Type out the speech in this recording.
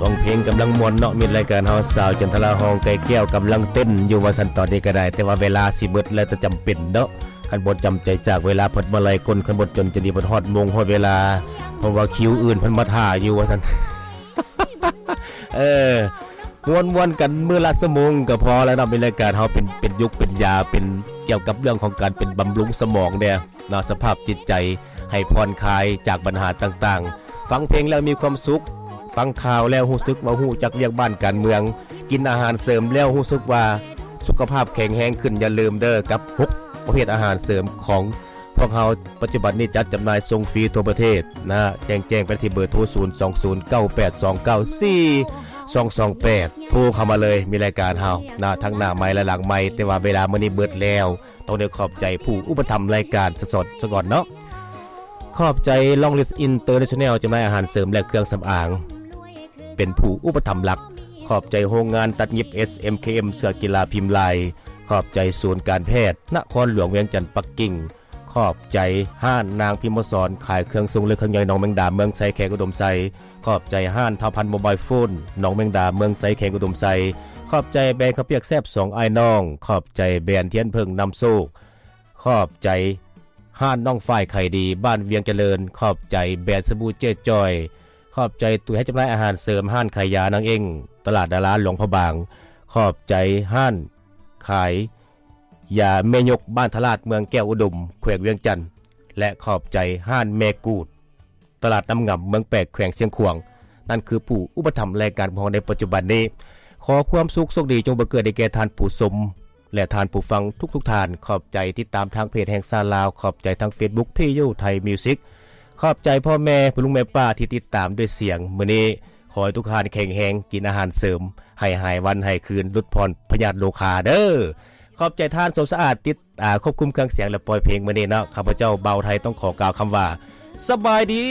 ຮ້ອງເພງກຳລັງມ່ວນເນາະ ມິດລາຍການເຮົາ ສາວຈັນທະລາ ຮ້ອງໄກ່ແກ້ວກຳລັງເຕັ້ນຢູ່ວ່າຊັ້ນ ຕອນນີ້ກໍໄດ້ ແຕ່ວ່າເວລາຊິເບິດແລ້ວ ແຕ່ຈຳເປັນເນາະ ຄັນບໍ່ຈຳໃຈຈາກເວລາ ເພິ່ນມາໄລ່ກົນ ຄັນບໍ່ຈົນຈະນີ້ ເພິ່ນຮອດໂມງຮອດເວລາ ເພາະວ່າຄິວອື່ນເພິ່ນມາຖ້າຢູ່ວ່າຊັ້ນ ເອີ ມ່ວນໆກັນມື້ລະຊົ່ວໂມງກໍພໍແລ້ວເນາະ ມີລາຍການເຮົາເປັນ ເປັນຢຸກເປັນຢາ ເປັນກ່ຽວກັບເລື່ອງຂອງການເປັນບຳລຸງສະໝອງແດ່ເນາະ ສະພາບຈິດໃຈໃຫ້ຜ່ອນຄາຍຈາກບັນຫາຕ່າງໆ ຟັງເພງແລ້ວມີຄວາມສຸກ ຟັງຂ່າວແລ້ວຮູ້ສຶກວ່າຮູ້ຈັກວຽກບ້ານການເມືອງ ກິນອາຫານເສີມແລ້ວຮູ້ສຶກວ່າສຸຂະພາບແຂງແຮງຂຶ້ນ ຢ່າລືມເດີ ກັບຫົກປະເພດອາຫານເສີມຂອງພວກເຮົາ ປັດຈຸບັນນີ້ຈັດຈຳໜ່າຍສົ່ງຟຣີທົ່ວປະເທດນະ ແຈ້ງ ແຈ້ງໄປທີ່ເບີໂທ ສູນສອງສູນ ເກົ້າແປດສອງເກົ້າ ສີ່ສອງສອງແປດ ໂທເຂົ້າມາເລີຍ ມີລາຍການເຮົານະ ທັງໜ້າໄມ ແລະ ຫຼັງໄມ ແຕ່ວ່າເວລາມື້ນີ້ເບິດແລ້ວ ຕ້ອງໄດ້ຂອບໃຈຜູ້ອຸປະຖຳລາຍການສະສອດສະກ່ອນເນາະ ຂອບໃຈ Long List International ຈຳໜ່າຍອາຫານເສີມ ແລະ ເຄື່ອງສຳອາງ ເປັນຜູ້ອຸປະຖຳຫຼັກ ຂອບໃຈໂຮງງານຕັດຫຍິບ ເອສເອັມເຄເອັມ ເສື້ອກິລາພິມລາຍ ຂອບໃຈສູນການແພດນະຄອນຫຼວງວຽງຈັນປັກກິ່ງ ຂອບໃຈຮ້ານນາງພິມມະສອນ ຂາຍເຄື່ອງຊົງເລັກເຄື່ອງໃຫຍ່ ໜອງແມງດາ ເມືອງໄຊ ແຂວງອຸດົມໄຊ ຂອບໃຈຮ້ານທ້າວພັນໂມບາຍໂຟນ ໜອງແມງດາ ເມືອງໄຊ ແຂວງອຸດົມໄຊ ຂອບໃຈແບຣນເຂົ້າປຽກແຊບສອງອ້າຍນ້ອງ ຂອບໃຈແບຣນທຽນເຜິ້ງນຳໂຊກ ຂອບໃຈຮ້ານນ້ອງຝ້າຍໄຂດີ ບ້ານວຽງຈະເລີນ ຂອບໃຈແບຣນສະບູເຈ້ຈ້ອຍ ຂອບໃຈຕູ້ແຮດຈຳໜ່າຍອາຫານເສີມ ຮ້ານຂາຍຢານາງເອັ້ງ ຕະຫຼາດດາລາ ຫຼວງພະບາງ ຂອບໃຈຮ້ານຂາຍຢາແມ່ຍົກ ບ້ານທະລາດ ເມືອງແກ້ວອຸດົມ ແຂວງວຽງຈັນ ແລະ ຂອບໃຈຮ້ານແມ່ກູດ ຕະຫຼາດນ້ຳງຳ ເມືອງແປກ ແຂວງຊຽງຂວາງ ນັ້ນຄືຜູ້ອຸປະຖຳລາຍການຂອງເຮົາໃນປັດຈຸບັນນີ້ ຂໍຄວາມສຸກໂຊກດີຈົ່ງບັງເກີດໃຫ້ແກ່ທ່ານຜູ້ຊົມ ແລະ ທ່ານຜູ້ຟັງທຸກໆທ່ານ ຂອບໃຈຕິດຕາມທາງເພຈແຫ່ງຊາດລາວ ຂອບໃຈທາງເຟສບຸກ PU Thai Music ຂອບໃຈພໍ່ແມ່ ພໍ່ລຸງແມ່ປ້າທີ່ຕິດຕາມດ້ວຍສຽງ ມື້ນີ້ຂໍໃຫ້ທຸກທ່ານແຂງແຮງ ກິນອາຫານເສີມ ໃຫ້ຫາຍວັນຫາຍຄືນ ຫຼຸດຜ່ອນພະຍາດໂລຄາເດີ ຂອບໃຈທ່ານສົມສະອາດ ຕິດ ອາ ຄວບຄຸມເຄື່ອງສຽງ ແລະ ປ່ອຍເພງມື້ນີ້ເນາະ ຂ້າພະເຈົ້າ ບ່າວໄທ ຕ້ອງຂໍກ່າວຄຳວ່າ ສະບາຍດີ.